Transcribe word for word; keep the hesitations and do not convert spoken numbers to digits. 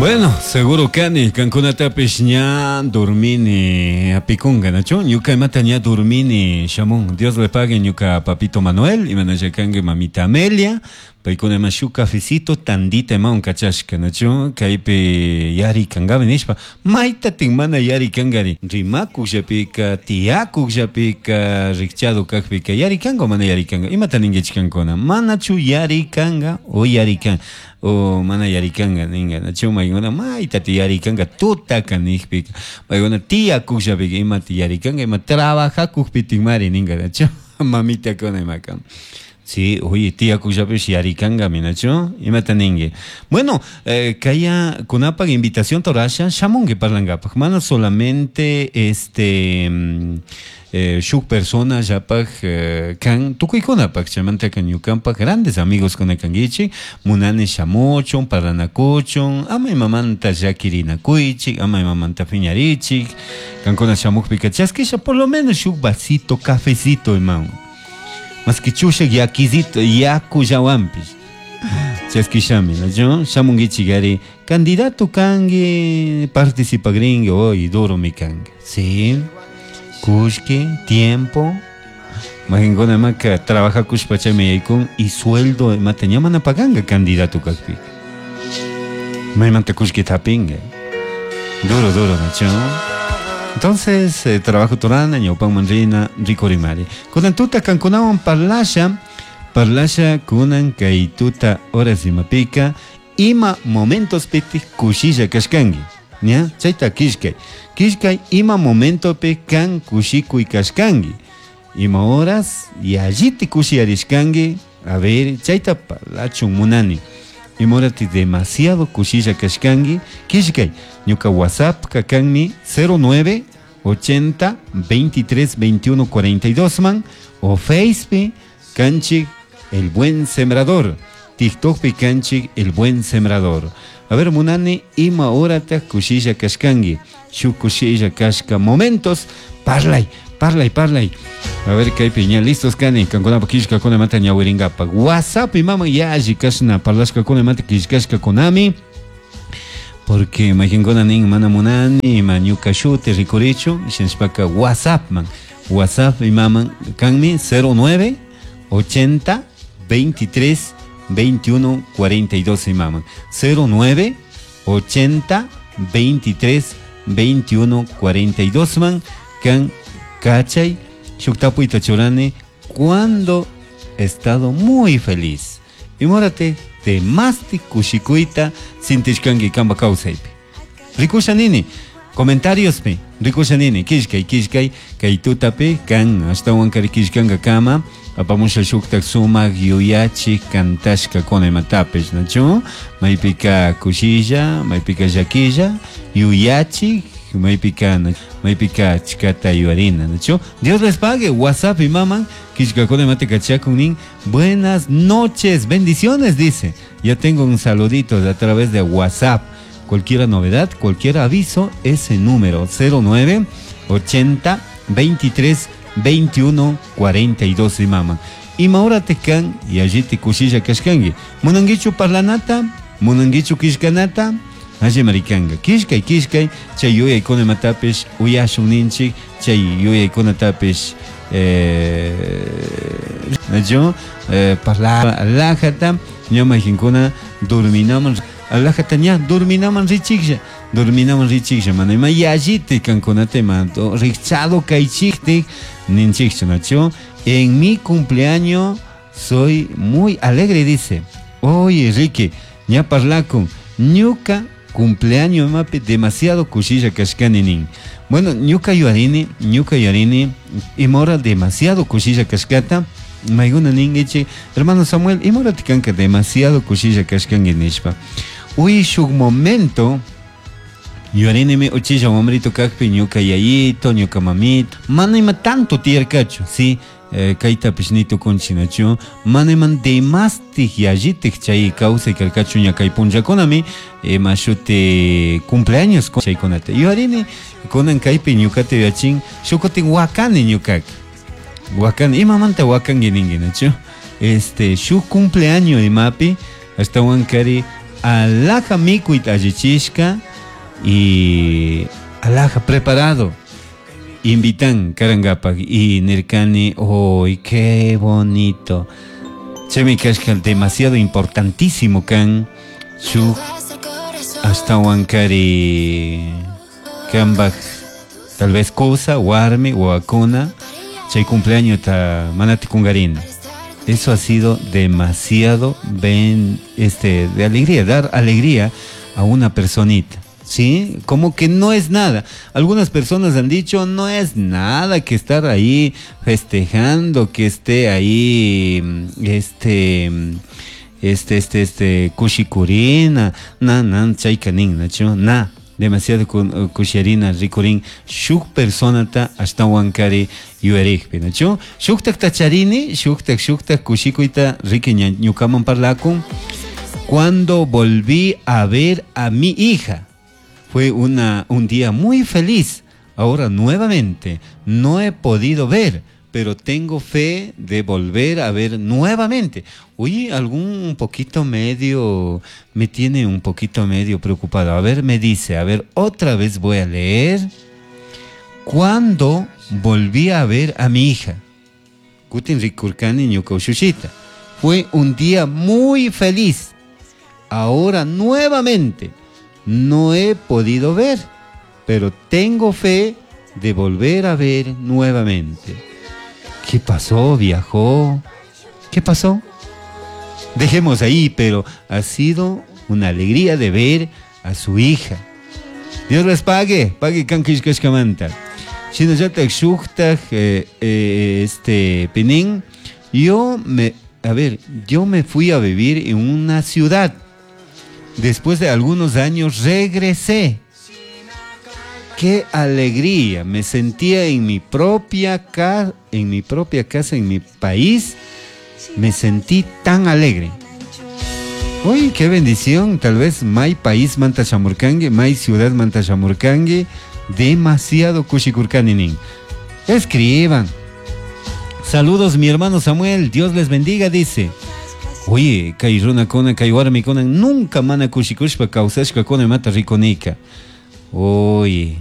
Bueno, seguro kani, kankunatapish ña dormini apikunga, nachu? Ñuka imata ña dormini shamun. Dios le pague ñuka papito Manuel, imanalla kanki mamita Amelia, paykuna ima shuk cafecito tandita imawan kachashka, nachu? Kaypi yarikangapi nishpa, maytatin mana yarikankari. Rimakukllapika, tiyakukllapika, rikchado kakpika, yarikanga o mana yarikanga? Imata ninkichik kankuna? Manachu yarikanga o yarikan o mana yarikanga ninga, nachu? Maykuna maytati yarikanga tutaka nijpika, paykuna tiyakukllapika imata yarikanga, ima trabajakukpitikmari ninga, nachu? Mamitakuna imaka. Sí, oye, tiyakukllapish yarikangami, nachu? Imata ninki. Bueno, eh, kaya kunapaq invitación torasha shamunki parlankapaq. Mana solamente este eh, shuk persona llapaq eh, kan tukuykunapaq chaymantaka ñukanpaq grandes amigos kuna kankichik munani shamuchun parlanakuchun ama imamanta llakirinakuychik ama imamanta piñarichik kankuna shamukpika chaskisha por lo menos shuk vasito cafecito imawan maski chushak yakizito yakullawanpish chaskishami, nachu? Shamunkichik ari candidato kanki participagrinki hoy duro mi kanki, sí, kullki tiempo majinkuna imaka trabajakushpa chaymi yaykun y sueldo imata ña mana paganka candidato kakpika maymanta kullkita hapinka duro duro, nachu? Entonces, eh, trabajo turana, ñawpanman rina, rikurimari. Kunan tuta kankunawan parlasha, parlasha kunan kay tuta horas imapika, ima momentos piti kushilla kashkanki. Ña? Chayta killkay. Killkay ima momentopi kan kushikuy kashkanki. Ima horas yalliti kushiyarishkanki. A ver, chayta parlachun munani. Ima horati demasiado kushilla kashkanki. Killkay. Ñuka WhatsApp kakanmi cero nueve ochenta veintitrés veintiuno cuarenta y dos man o Facebook kanchik El Buen Sembrador, TikTok pi kanchik El Buen Sembrador. A ver, munani, ima horata kushilla kashkanki, shuk kushilla kashka momentos, parlay, parlay, parlay. A ver, kaypi ña listos kani, kankunapa killkakunamanta ñawirinkapak. WhatsApp imama yalli kashna parlashkakunamanta killkashkakunami, porque mayqinkuna nin mana munani, ima ñuka shuti rikurichu, shinashpaka WhatsApp man, WhatsApp imaman kanmi cero nueve ochenta veintitrés veintiuno cuarenta y dos imaman, cero nueve ochenta veintitrés veintiuno cuarenta y dos man kan kachay shuk tapuyta churani cuando he estado muy feliz. Y mórate temasti kushikuyta sintishkanki kanpa kawsaypi. Rikusha nini, comentariospi, rikusha nini, killkay, killkay, kay tutapi kan ashtawan kari killkanka kama, apamusha shuktak sumak yuyachik kantashka kuna imatapish, nachu? Maypika kushilla, maypika llakilla, yuyachik, maypika, maypika chikata yuarina, nachu? Dios les pague, WhatsApp y maman, killkakuna imate kachakun nin, buenas noches, bendiciones, dice. Ya tengo un saludito a través de WhatsApp. Cualquier novedad, cualquier aviso, ese número cero nueve ochenta veintitrés veintiuno cuarenta y dos y mama. Ima hora te kan y allí te kushilla kashkangi. Munanguichu parlanata, munanguichu kishkanata, allí maricanga. Kishkay, kishkay, chay yuyay kuna matapish, uyashun ninchik, chay yuyay kuna tapish, eh, yo, eh, parla alajata, ñama jinkuna, dorminaman, alajata ña, dorminaman richiklla, dorminaman richiklla, mana ima yallite kankunate ma, do, richado kaychiktik, ninchikcha, nacho. En mi cumpleaños soy muy alegre, dice. Oye, Ricky, ña parlakun, ñuka cumpleaños mapi demasiado kushilla kashkani nin. Bueno, ñuka yuarini, ñuka yuarini, imora demasiado kushilla kashkata, mayguna ningichi, hermano Samuel, imora tikanka demasiado kushilla kashkangi nishpa. Uy, shuk momento, yuarini mi uchilla hombrito kakpi, ñuka yayito, ñuka mamito, mana ima tanto tiyarkachu, sí, eh, kaytapish ni tukunchik, nachu, mana iman demastik yallitik chay kawsay karkachu ña kay punllakunami, ima shuti cumpleaños chaykunata. Yuarini kunan kaypi ñukata yuyachin, shukutin wakani ñukaka. Wakani, imamanta wakanki ninki, nachu? Este, shuk cumpleaños imapi, ashtawan kari Alhaja mikuyta allichishka y alhaja preparado. Invitan karangapak y nirkani, ¡ay, qué bonito! Chaymi kashka demasiado importantísimo kan shuk ashtawankari kambaj tal vez kusa, warmi, wawakuna chay cumpleaños ta manati kungarina. Eso ha sido demasiado ben, este, de alegría, dar alegría a una personita. ¿Sí? Como que no es nada. Algunas personas han dicho, no es nada que estar ahí festejando, que esté ahí, este, este, este, este, kushikurina, na, na, chaykanin, nachu, na, demasiado kusharina, rikurin, shuk personata ashtawankari yuyarikpi, nachu, shuktak tacharini, shuktak, shuktak kushikuyta riki ñukaman parlakun. Cuando volví a ver a mi hija, fue una, un día muy feliz. Ahora nuevamente no he podido ver, pero tengo fe de volver a ver nuevamente. Oye, algún un poquito medio, me tiene un poquito medio preocupado. A ver, me dice, a ver, otra vez voy a leer. Cuando volví a ver a mi hija, Kutin rikurkani ñuka ushushita. Fue un día muy feliz. Ahora nuevamente no he podido ver, pero tengo fe de volver a ver nuevamente. ¿Qué pasó? ¿Viajó? ¿Qué pasó? Dejemos ahí, pero ha sido una alegría de ver a su hija. Dios les pague, pague kankishkashkamanta. Shinallatak shuktak eh, eh, este pinin, yo me, a ver, yo me fui a vivir en una ciudad. Después de algunos años regresé. Qué alegría, me sentía en mi propia ca-, en mi propia casa, en mi país, me sentí tan alegre. Uy, qué bendición, tal vez may país manta shamurkangi, may ciudad manta shamurkangi, demasiado kushikurkani nin. Escriban. Saludos mi hermano Samuel, Dios les bendiga, dice. Oye, kay runakuna, kay warmikuna, nunca mana kushikushpa kawsashka kuna mata rikunika. Oye,